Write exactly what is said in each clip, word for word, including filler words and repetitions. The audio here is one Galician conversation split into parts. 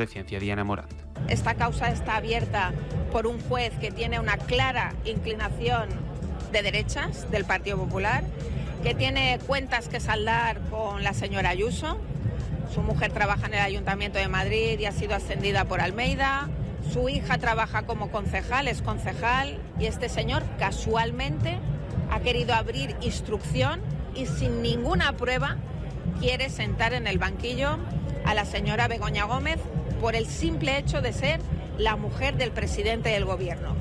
de Ciencia, Diana Morant. Esta causa está abierta por un juez que tiene una clara inclinación de derechas del Partido Popular, que tiene cuentas que saldar con la señora Ayuso. Su mujer trabaja en el Ayuntamiento de Madrid y ha sido ascendida por Almeida. Su hija trabaja como concejal, es concejal, y este señor casualmente ha querido abrir instrucción y sin ninguna prueba quiere sentar en el banquillo a la señora Begoña Gómez por el simple hecho de ser la mujer del presidente del gobierno.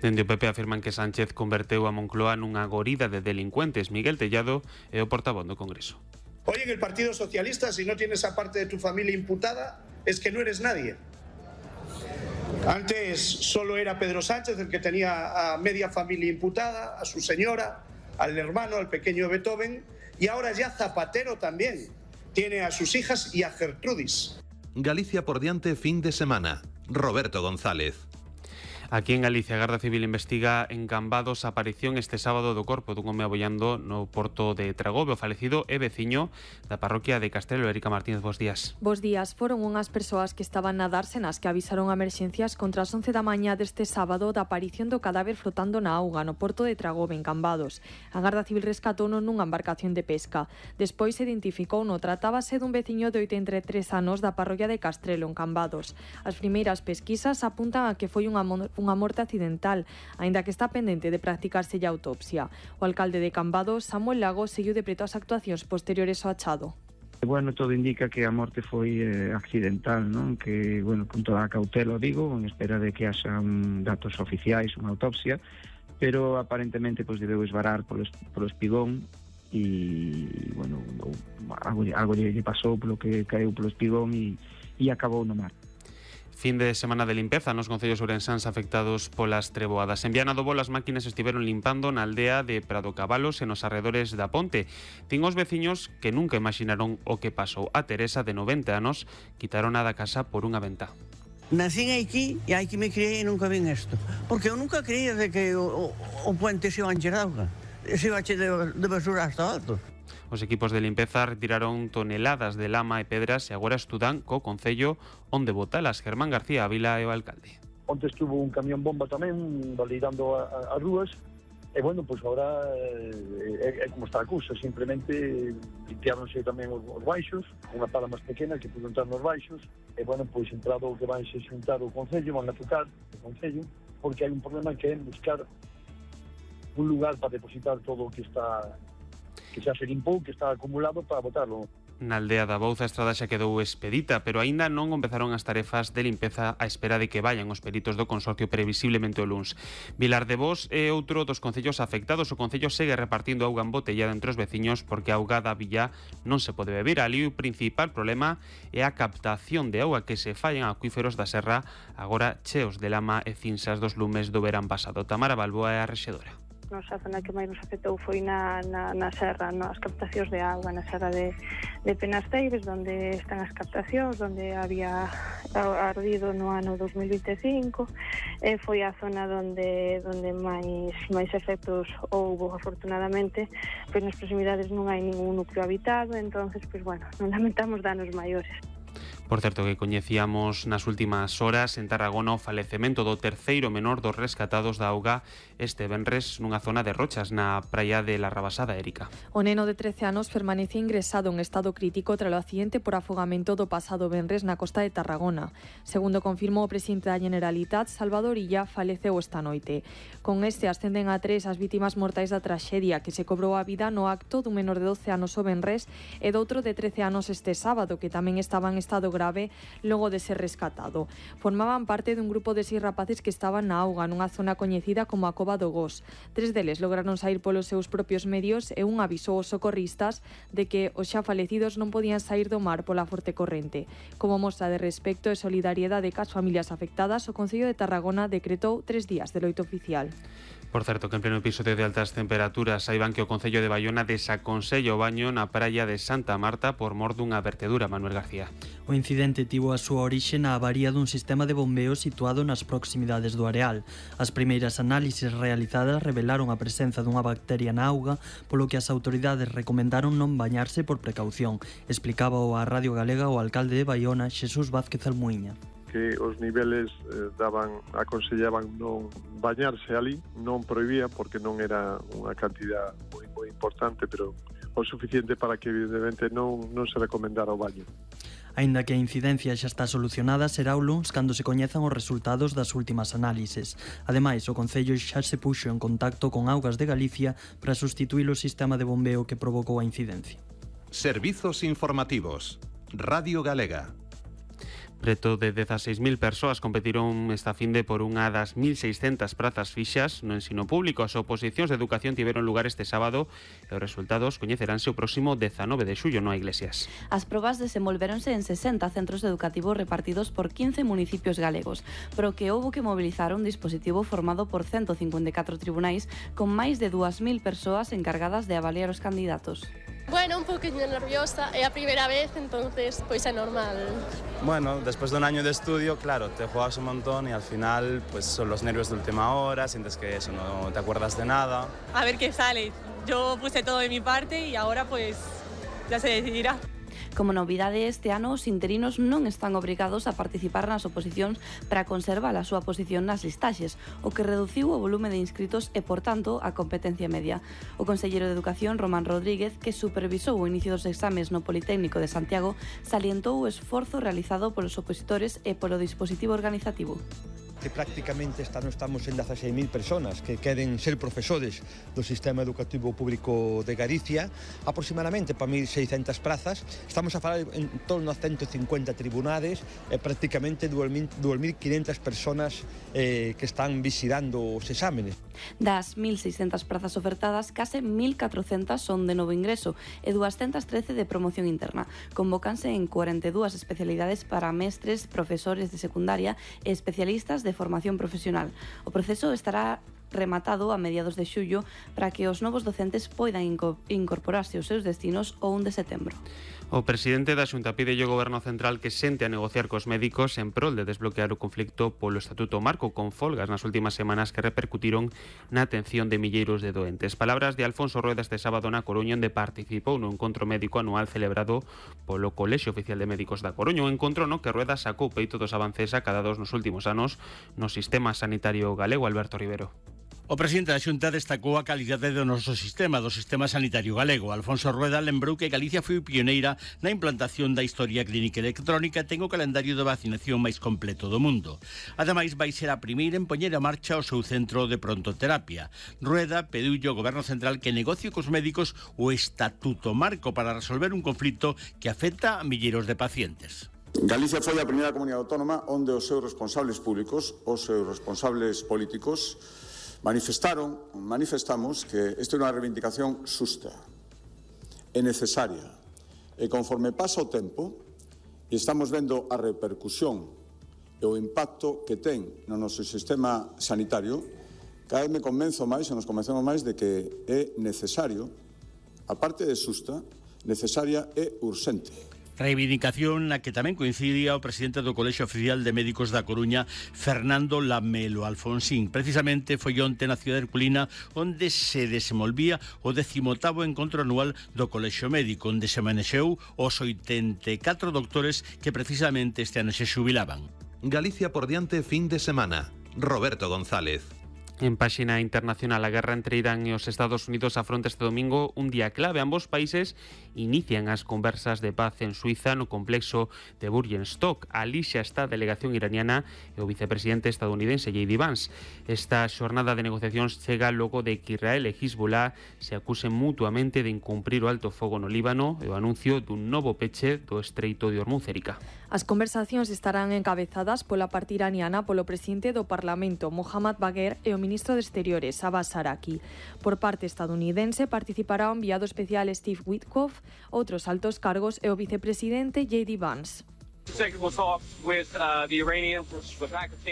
Dende o P P afirman que Sánchez converteu a Moncloa nunha gorida de delincuentes. Miguel Tellado é o portavoz do Congreso. Oye, en el Partido Socialista, si no tienes a parte de tu familia imputada, es que no eres nadie. Antes solo era Pedro Sánchez el que tenía a media familia imputada, a su señora, al hermano, al pequeño Beethoven, y ahora ya Zapatero también tiene a sus hijas y a Gertrudis. Galicia por diante fin de semana. Roberto González. Aquí en Galicia, a Garda Civil investiga en Cambados a aparición este sábado do corpo dun home abollando no porto de Tragobe. O falecido é veciño da parroquia de Castrelo. Erika Martínez, bos días. Bos días. Foron unhas persoas que estaban na Dársenas que avisaron a emerxencias contra as once da mañá deste sábado da aparición do cadáver flotando na auga no porto de Tragobe, en Cambados. A Garda Civil rescatouno nunha embarcación de pesca. Despois se identificouno. Tratábase dun veciño de oitenta e tres anos da parroquia de Castrelo, en Cambados. As primeiras pesquisas apuntan a que foi unha unha morte accidental, aínda que está pendente de practicarse a autopsia. O alcalde de Cambados, Samuel Lago, seguiu de preto as actuacións posteriores ao achado. Bueno, todo indica que a morte foi eh, accidental, non? Que, bueno, con toda a cautela, digo, en espera de que haxa un datos oficiais, unha autopsia, pero aparentemente pois debeu esvarar polo, polo espigón e, bueno, algo, algo lle pasou polo que caeu polo espigón e, e acabou no mar. Fin de semana de limpeza nos concellos ourensáns afectados polas treboadas. En Viana do Bolo as máquinas estiveron limpando na aldea de Prado Cabalos e nos arredores da ponte. Tin os veciños que nunca imaginaron o que pasou. A Teresa, de noventa anos, quitaron a da casa por unha ventá. Nacín aquí e hai que me criei e nunca vin isto. Porque eu nunca creía de que o, o, o puente se iba a encher de auga. Se iba a encher de, de basura hasta alto. Os equipos de limpeza retiraron toneladas de lama e pedras e agora estudan co Concello onde botalas. Germán García Ávila é o alcalde. Onte estuvo un camión bomba tamén validando as rúas e, bueno, pois agora é, é como está a cousa, simplemente limpiáronse tamén os, os baixos, unha pala máis pequena que pudo entrar nos baixos e, bueno, pois entrado o que vai se xuntar o Concello, van a tocar o Concello, porque hai un problema que é buscar un lugar para depositar todo o que está que xa se limpou, que está acumulado para botarlo. Na aldea da Bouza a estrada xa quedou expedita, pero aínda non empezaron as tarefas de limpeza á espera de que vayan os peritos do consorcio previsiblemente o luns. Vilar de Bos é outro dos concellos afectados. O concello segue repartindo auga embotellada entre os veciños porque a auga da villa non se pode beber. Ali o principal problema é a captación de auga que se fai en acuíferos da serra, agora cheos de lama e cinsas dos lumes do verán pasado. Tamara Balboa é a rexedora. Nosa zona que máis nos afectou foi na, na, na serra, nas captacións de auga, na serra de, de Penasteires, onde están as captacións, onde había ardido no ano dos mil vinte e cinco, e foi a zona onde, onde máis, máis efectos houbo, afortunadamente, pois nas proximidades non hai ningún núcleo habitado, entonces, pois bueno, non lamentamos danos maiores. Por certo, que coñecíamos nas últimas horas en Tarragona o falecemento do terceiro menor dos rescatados da auga este venres nunha zona de Rochas, na praia de La Rabasada, Erika. O neno de trece anos permanece ingresado en estado crítico tras o accidente por afogamento do pasado venres na costa de Tarragona. Segundo confirmou o presidente da Generalitat, Salvador Illa, faleceu esta noite. Con este ascenden a tres as vítimas mortais da traxedia que se cobrou a vida no acto dun menor de doce anos o venres e doutro de trece anos este sábado, que tamén estaba en estado grave logo de ser rescatado. Formaban parte dun grupo de seis rapaces que estaban na auga nunha zona coñecida como a Cova do Gos. Tres deles lograron sair polos seus propios medios e un avisou aos socorristas de que os xa falecidos non podían sair do mar pola forte corrente. Como mostra de respecto e solidariedade cas familias afectadas, o Concello de Tarragona decretou tres días de loito oficial. Por certo, que en pleno episodio de altas temperaturas saiban que o Concello de Baiona desaconsella o baño na praia de Santa Marta por mor dunha vertedura. Manuel García. O incidente tivo a súa orixe na avaría dun sistema de bombeo situado nas proximidades do areal. As primeiras análises realizadas revelaron a presenza dunha bacteria na auga, polo que as autoridades recomendaron non bañarse por precaución, explicaba a Radio Galega o alcalde de Baiona, Xesús Vázquez Almuíña. Que os niveles eh, daban, aconsellaban non bañarse ali, non prohibía porque non era unha cantidad moi, moi importante, pero o suficiente para que evidentemente non, non se recomendara o baño. Aínda que a incidencia xa está solucionada, será o luns cando se coñezan os resultados das últimas análises. Ademais, o Concello xa se puxo en contacto con Augas de Galicia para sustituir o sistema de bombeo que provocou a incidencia. Servizos informativos. Radio Galega. Preto de dezaseis mil persoas competiron esta finde por unha das mil seiscentas prazas fixas no ensino público. As oposicións de educación tiveron lugar este sábado e os resultados coñeceránse o próximo dezanove de xullo, no Iglesias. As probas desenvolvéronse en sesenta centros educativos repartidos por quince municipios galegos, pero que houbo que mobilizar un dispositivo formado por ciento cincuenta e catro tribunais con máis de dúas mil persoas encargadas de avaliar os candidatos. Bueno, un poquinho nerviosa, é a primeira vez, entonces pois é normal. Bueno, después de un año de estudio, claro, te juegas un montón y al final pues son los nervios de última hora, sientes que eso, no te acuerdas de nada. A ver qué sale. Yo puse todo de mi parte y ahora pues ya se decidirá. Como novidade, este ano os interinos non están obrigados a participar nas oposicións para conservar a súa posición nas listaxes, o que reduciu o volume de inscritos e, por tanto, a competencia media. O conselleiro de Educación, Román Rodríguez, que supervisou o inicio dos exames no Politécnico de Santiago, salientou o esforzo realizado polos opositores e polo dispositivo organizativo. Que prácticamente este ano estamos en dezaseis mil personas que queren ser profesores do sistema educativo público de Galicia, aproximadamente para mil seiscentas prazas. Estamos a falar en torno a ciento cincuenta tribunales e prácticamente dous mil quinhentas personas eh, que están vigilando os exámenes. Das mil seiscentas prazas ofertadas, case mil catrocentas son de novo ingreso e doscientas trece de promoción interna. Convócanse en cuarenta e dúas especialidades para mestres, profesores de secundaria e especialistas de formación profesional. O proceso estará rematado a mediados de xullo para que os novos docentes poidan incorporarse aos seus destinos o un de setembro. O presidente da Xunta pide ao Goberno Central que sente a negociar cos médicos en prol de desbloquear o conflicto polo Estatuto Marco, con folgas nas últimas semanas que repercutiron na atención de milleiros de doentes. Palabras de Alfonso Rueda este sábado na Coruña, onde participou no encontro médico anual celebrado polo Colexio Oficial de Médicos da Coruña, un encontro no que Rueda sacou peito dos avances acadados nos últimos anos no sistema sanitario galego. Alberto Rivero. O presidente da Xunta destacou a calidade do noso sistema, do sistema sanitario galego. Alfonso Rueda lembrou que Galicia foi pioneira na implantación da historia clínica electrónica e ten o calendario de vacinación máis completo do mundo. Ademais, vai ser a primeira en poñer a marcha o seu centro de prontoterapia. Rueda pediulle ao Goberno Central que negocie cos médicos o Estatuto Marco para resolver un conflito que afecta a milleiros de pacientes. Galicia foi a primeira comunidade autónoma onde os seus responsables públicos, os seus responsables políticos, manifestaron, manifestamos que esta é unha reivindicación xusta, é necesaria, e conforme pasa o tempo e estamos vendo a repercusión e o impacto que ten no noso sistema sanitario, cada vez me convenzo máis, e nos convencemos máis de que é necesario, a parte de xusta, necesaria e urxente. Reivindicación na que tamén coincidía o presidente do Colexio Oficial de Médicos da Coruña, Fernando Lamelo Alfonsín. Precisamente foi onte na cidade herculina onde se desenvolvía o decimotavo encontro anual do Colexio Médico, onde se manexeu os oitenta e catro doctores que precisamente este ano se xubilaban. Galicia por diante fin de semana. Roberto González. En páxina internacional, a guerra entre Irán e os Estados Unidos afronta este domingo un día clave. Ambos países inician as conversas de paz en Suiza no complexo de Burgenstock. Ali xa está a delegación iraniana e o vicepresidente estadounidense J D Vance. Esta xornada de negociacións chega logo de que Israel e Hezbollah se acusen mutuamente de incumprir o alto fogo no Líbano e o anuncio dun novo peche do estreito de Hormuz, Erika. As conversacións estarán encabezadas pola parte iraniana polo presidente do Parlamento, Mohammad Bagher, e o ministro de Exteriores, Abbas Araki. Por parte estadounidense participará o enviado especial Steve Witkoff, outros altos cargos e o vicepresidente J D Vance.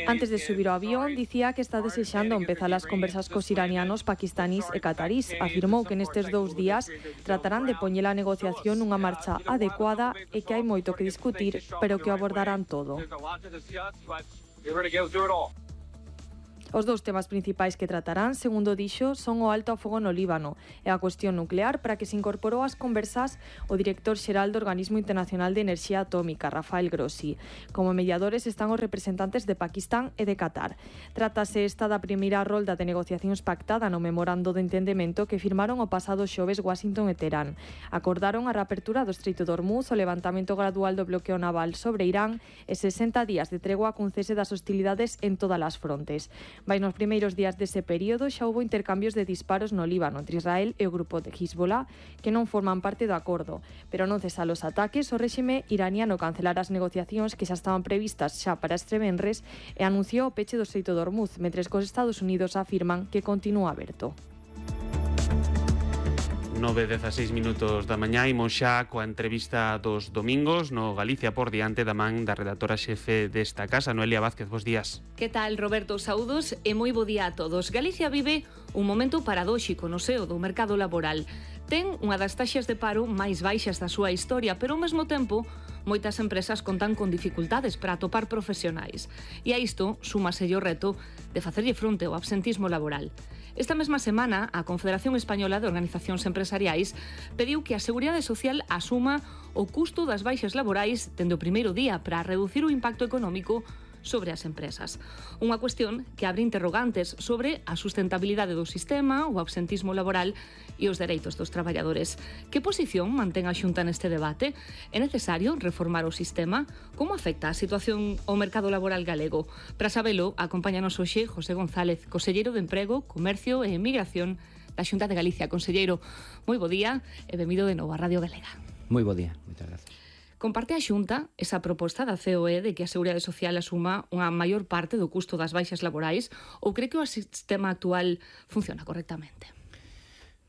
Antes de subir ao avión, dicía que está desexando empezar as conversas cos iranianos, paquistanís e catarís. Afirmou que nestes dous días tratarán de poñer a negociación nunha marcha adecuada e que hai moito que discutir, pero que o abordarán todo. Os dous temas principais que tratarán, segundo dixo, son o alto a fogo no Líbano e a cuestión nuclear, para que se incorporou ás conversas o director xeral do Organismo Internacional de Enerxía Atómica, Rafael Grossi. Como mediadores están os representantes de Pakistán e de Qatar. Trátase esta da primeira rolda de negociacións pactada no memorando de entendemento que firmaron o pasado xoves Washington e Teherán. Acordaron a reapertura do Estreito de Hormuz, o levantamento gradual do bloqueo naval sobre Irán e sesenta días de tregua cun cese das hostilidades en todas as frontes. Vai nos primeiros días dese período xa houbo intercambios de disparos no Líbano entre Israel e o grupo de Hezbollah, que non forman parte do acordo, pero non cesa os ataques, o réxime iraniano cancelara as negociacións que xa estaban previstas xa para este venres e anunciou o peche do Estreito de Hormuz, mentres que os Estados Unidos afirman que continúa aberto. nove e dezaseis minutos da mañá, imos xa coa entrevista dos domingos no Galicia por diante da man da redactora xefe desta casa, Noelia Vázquez. Bos días. Que tal, Roberto? Saúdos e moi bo día a todos. Galicia vive un momento paradóxico no seo do mercado laboral. Ten unha das taxas de paro máis baixas da súa historia, pero ao mesmo tempo moitas empresas contan con dificultades para atopar profesionais. E a isto súmase o reto de facerlle fronte ao absentismo laboral. Esta mesma semana, a Confederación Española de Organizacións Empresariais pediu que a Seguridade Social asuma o custo das baixas laborais dende o primeiro día para reducir o impacto económico sobre as empresas. Unha cuestión que abre interrogantes sobre a sustentabilidade do sistema, o absentismo laboral e os dereitos dos traballadores. Que posición mantén a Xunta neste debate? É necesario reformar o sistema? Como afecta a situación ao mercado laboral galego? Para sabelo, acompáñanos hoxe José González, conselleiro de Emprego, Comercio e Emigración da Xunta de Galicia. Conselleiro, moi bo día e benvido de novo a Radio Galega. Moi bo día, moitas gracias. Comparte a Xunta esa proposta da C O E de que a Seguridade Social asuma unha maior parte do custo das baixas laborais ou cree que o sistema actual funciona correctamente?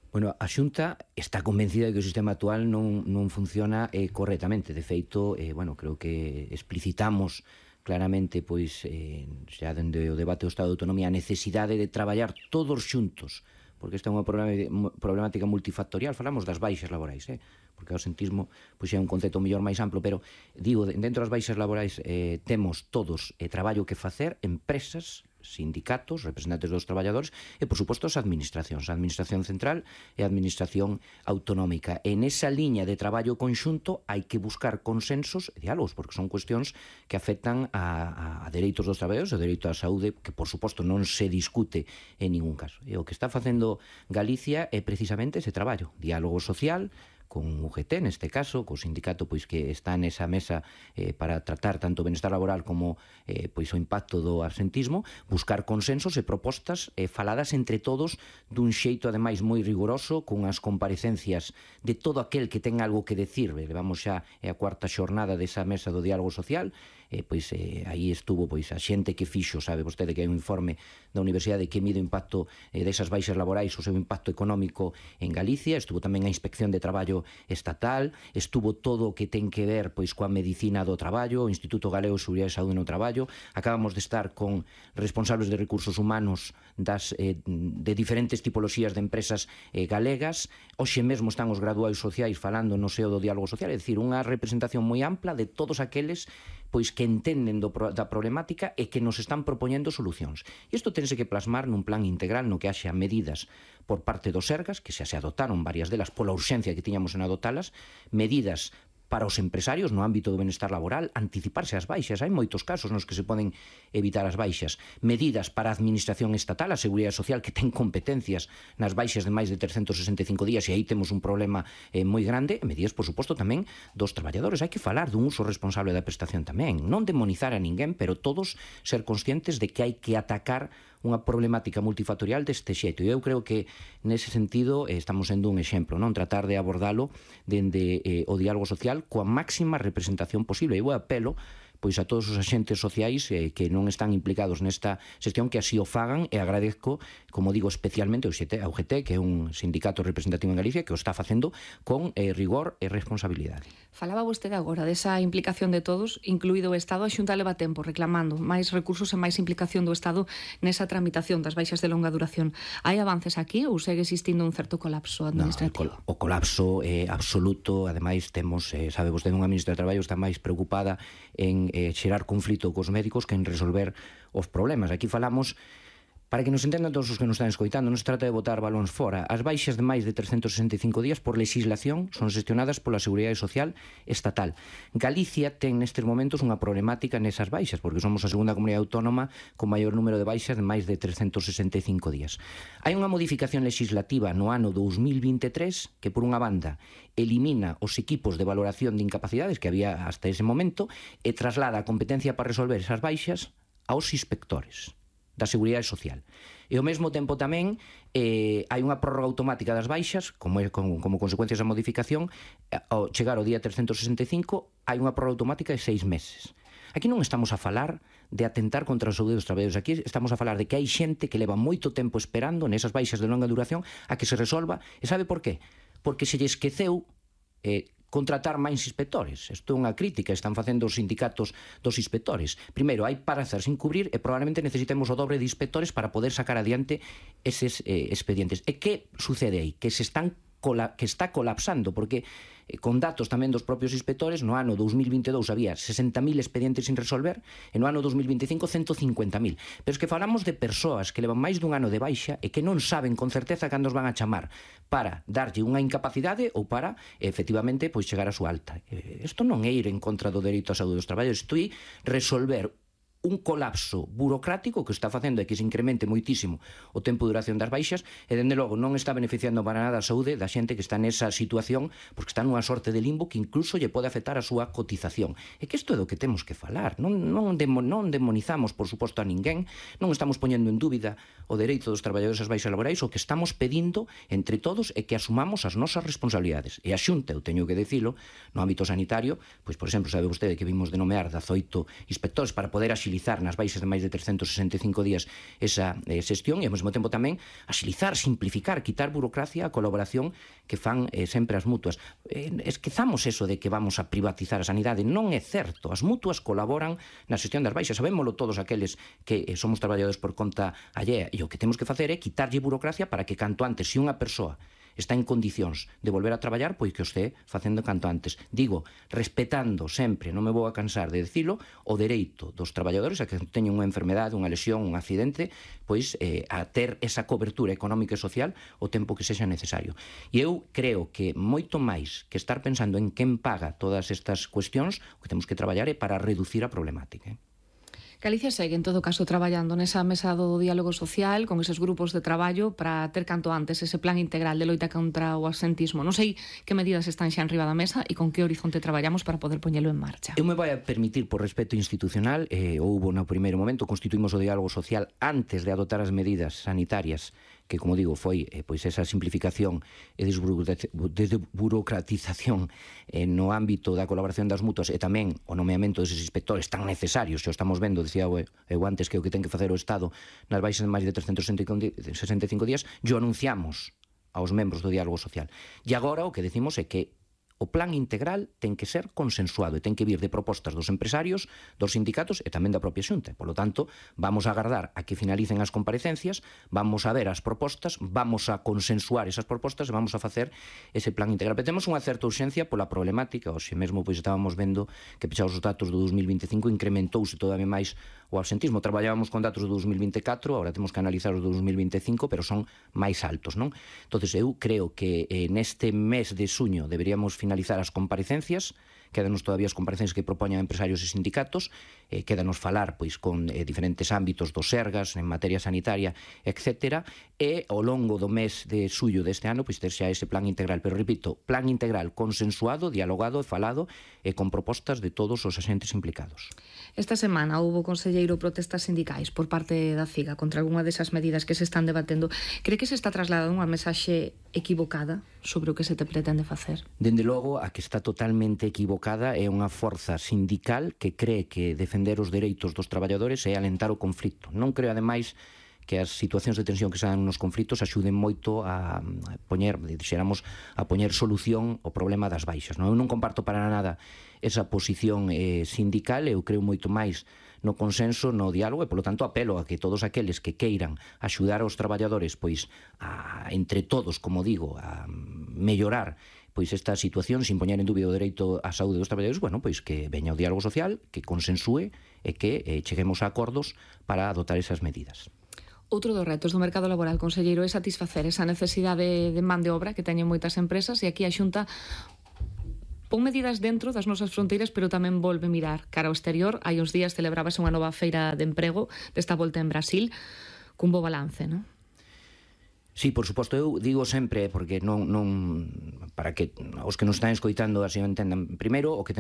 Bueno, a Xunta está convencida de que o sistema actual non, non funciona eh, correctamente. De feito, eh, bueno, creo que explicitamos claramente, pois, eh, xa dende o debate do Estado de Autonomía, a necesidade de traballar todos xuntos, porque esta é unha problemática multifactorial. Falamos das baixas laborais, eh? porque o absentismo pois, é un concepto mellor máis amplo, pero digo, dentro das baixas laborais eh, temos todos eh, traballo que facer, empresas, sindicatos, representantes dos traballadores e, por suposto, as administracións, a administración central e a administración autonómica. En esa liña de traballo conxunto hai que buscar consensos e diálogos, porque son cuestións que afectan a, a, a dereitos dos traballadores, o dereito á saúde, que, por suposto, non se discute en ningún caso. E o que está facendo Galicia é precisamente ese traballo, diálogo social, con U G T, neste caso, co sindicato pois que está nesa mesa eh, para tratar tanto o benestar laboral como eh, pois o impacto do absentismo, buscar consensos e propostas eh, faladas entre todos dun xeito ademais moi rigoroso, con as comparecencias de todo aquel que ten algo que decir. Levamos xa a cuarta xornada desa mesa do diálogo social, eh, pois eh, aí estuvo pois a xente que fixo, sabe vostede que hai un informe da Universidade que mide o impacto eh, desas baixas laborais, o seu impacto económico en Galicia, estuvo tamén a Inspección de Traballo estatal, estuvo todo o que ten que ver pois coa medicina do traballo, o Instituto Galego de Seguridade e Saúde no Traballo. Acabamos de estar con responsables de recursos humanos das, eh, de diferentes tipoloxías de empresas eh, galegas. Hoxe mesmo están os graduados sociais falando no seo do diálogo social, é dicir, unha representación moi ampla de todos aqueles pois que entenden do, da problemática e que nos están propoñendo solucións. E isto tense que plasmar nun plan integral no que haxa medidas por parte dos Sergas, que xa se adotaron varias delas pola urxencia que tiñamos en adotalas, medidas para os empresarios no ámbito do benestar laboral, anticiparse as baixas. Hai moitos casos nos que se poden evitar as baixas. Medidas para a administración estatal, a Seguridade Social, que ten competencias nas baixas de máis de trescentos sesenta e cinco días, e aí temos un problema eh, moi grande. E medidas, por suposto, tamén dos traballadores. Hai que falar dun uso responsable da prestación tamén. Non demonizar a ninguén, pero todos ser conscientes de que hai que atacar unha problemática multifactorial deste xeito. E eu creo que, nese sentido, eh, estamos sendo un exemplo, non? Tratar de abordalo dende eh, o diálogo social coa máxima representación posible. Eu apelo pois a todos os axentes sociais eh, que non están implicados nesta xestión que así o fagan, e agradezco, como digo, especialmente ao U G T, que é un sindicato representativo en Galicia, que o está facendo con eh, rigor e responsabilidade. Falaba vostede agora desa implicación de todos, incluído o Estado. A Xunta leva tempo reclamando máis recursos e máis implicación do Estado nesa tramitación das baixas de longa duración. Hai avances aquí ou segue existindo un certo colapso administrativo? No, o colapso é absoluto. Ademais, temos, eh, sabe vostede, unha ministra de Traballo está máis preocupada en eh, xerar conflito cos médicos que en resolver os problemas. Aquí falamos, para que nos entendan todos os que nos están escoitando, non se trata de botar balóns fora. As baixas de máis de trescentos sesenta e cinco días por legislación son xestionadas pola Seguridade Social estatal. Galicia ten nestes momentos unha problemática nesas baixas, porque somos a segunda comunidade autónoma con maior número de baixas de máis de trescentos sesenta e cinco días. Hai unha modificación legislativa no ano dous mil vinte e tres que, por unha banda, elimina os equipos de valoración de incapacidades que había hasta ese momento e traslada a competencia para resolver esas baixas aos inspectores da Seguridade Social. E ao mesmo tempo tamén eh, hai unha prórroga automática das baixas, como, é, como, como consecuencia desa modificación, ao chegar ao día trescentos sesenta e cinco, hai unha prórroga automática de seis meses. Aquí non estamos a falar de atentar contra a saúde dos traballadores, aquí estamos a falar de que hai xente que leva moito tempo esperando nesas baixas de longa duración a que se resolva, e sabe por qué? Porque se lle esqueceu eh, contratar máis inspectores. Isto é unha crítica, están facendo os sindicatos dos inspectores. Primeiro, hai parazas sin cubrir e probablemente necesitemos o dobre de inspectores para poder sacar adiante eses eh, expedientes. E que sucede aí? Que se están que está colapsando, porque eh, con datos tamén dos propios inspectores, no ano dous mil vinte e dous había sesenta mil expedientes sin resolver, e no ano dous mil vinte e cinco ciento cincuenta mil. Pero es que falamos de persoas que levan máis dun ano de baixa e que non saben con certeza cando os van a chamar para darlle unha incapacidade ou para, efectivamente, pois chegar a súa alta. Isto non é ir en contra do dereito á saúde dos traballadores, isto é resolver un colapso burocrático que está facendo é que se incremente moitísimo o tempo de duración das baixas e, dende logo, non está beneficiando para nada a saúde da xente que está nesa situación, porque está nunha sorte de limbo que incluso lle pode afectar a súa cotización. E que isto é do que temos que falar. Non, non, demo, non demonizamos, por suposto, a ninguén, non estamos poñendo en dúbida o dereito dos traballadores ás baixas laborais. O que estamos pedindo entre todos é que asumamos as nosas responsabilidades. E a Xunta, eu teño que decilo, no ámbito sanitario, pois, por exemplo, sabe vostede que vimos de nomear dezoito inspectores para poder axilizar nas baixas de máis de trescentos sesenta e cinco días esa eh, xestión, e ao mesmo tempo tamén axilizar, simplificar, quitar burocracia, a colaboración que fan eh, sempre as mutuas. Eh, esquezamos eso de que vamos a privatizar a sanidade. Non é certo. As mutuas colaboran na xestión das baixas. Sabémolo todos aqueles que eh, somos traballadores por conta allea, e o que temos que facer é quitarlle burocracia para que canto antes, se unha persoa está en condicións de volver a traballar, pois que o este facendo canto antes. Digo, respetando sempre, non me vou a cansar de dicilo, o dereito dos traballadores a que teñen unha enfermedade, unha lesión, un accidente, pois eh, a ter esa cobertura económica e social o tempo que sexa necesario. E eu creo que moito máis que estar pensando en quen paga todas estas cuestións, o que temos que traballar é para reducir a problemática. Eh? Galicia segue, en todo caso, traballando nesa mesa do diálogo social, con eses grupos de traballo, para ter canto antes ese plan integral de loita contra o absentismo. Non sei que medidas están xa enriba da mesa e con que horizonte traballamos para poder poñelo en marcha. Eu me vai a permitir, por respeto institucional, eh, houbo no primeiro momento, constituímos o diálogo social antes de adoptar as medidas sanitarias, que, como digo, foi eh, pois esa simplificación e desburocratización eh, no ámbito da colaboración das mutuas e tamén o nomeamento deses inspectores tan necesarios, xa estamos vendo, dicía eu antes, que o que ten que facer o Estado nas baixas de máis de trescentos sesenta e cinco días, yo anunciamos aos membros do diálogo social. E agora o que decimos é que o plan integral ten que ser consensuado e ten que vir de propostas dos empresarios, dos sindicatos e tamén da propia Xunta. Por lo tanto, vamos a agardar a que finalicen as comparecencias, vamos a ver as propostas, vamos a consensuar esas propostas e vamos a facer ese plan integral. Pero temos unha certa urxencia pola problemática. Hoxe mesmo pois estábamos vendo que, pechados os datos do dos mil vinte e cinco, incrementouse todavía máis o absentismo. Traballábamos con datos do dos mil vinte e catro, agora temos que analizar os do dos mil vinte e cinco, pero son máis altos, non? Entonces, eu creo que eh, neste mes de suño deberíamos finalizar as comparecencias. Quédanos todavía as comparecencias que propoñan empresarios e sindicatos, eh, quédanos falar pois con eh, diferentes ámbitos dos Sergas, en materia sanitaria, etcétera, e ao longo do mes de suyo deste ano pois ter xa ese plan integral, pero repito, plan integral consensuado, dialogado e falado e con propostas de todos os agentes implicados. Esta semana houbo, conselleiro, protestas sindicais por parte da CIGA contra algunha desas medidas que se están debatendo. Cree que se está trasladando unha mensaxe equivocada sobre o que se te pretende facer? Dende logo, a que está totalmente equivocada é unha forza sindical que cree que defender os dereitos dos traballadores é alentar o conflito. Non creo, ademais, que as situacións de tensión que se dan nos conflitos axuden moito a, a poñer, dixéramos, a poñer solución ao problema das baixas. Non? Eu non comparto para nada esa posición eh, sindical, eu creo moito máis no consenso, no diálogo, e polo tanto apelo a que todos aqueles que queiran axudar aos traballadores, pois a, entre todos, como digo, a mellorar pois esta situación sin poñer en dúbida o dereito á saúde dos traballadores, bueno, pois que veña o diálogo social, que consensúe e que eh, cheguemos a acordos para adoptar esas medidas. Outro dos retos do mercado laboral, conselleiro, é satisfacer esa necesidade de man de obra que teñen moitas empresas, e aquí a Xunta pon medidas dentro das nosas fronteiras, pero tamén volve mirar cara ao exterior. Hai uns días celebrábase unha nova feira de emprego desta volta en Brasil, cun bo balance, non? Sí, por suposto, eu digo sempre, porque non, non para que os que nos están escoitando así o entendan, primeiro, o que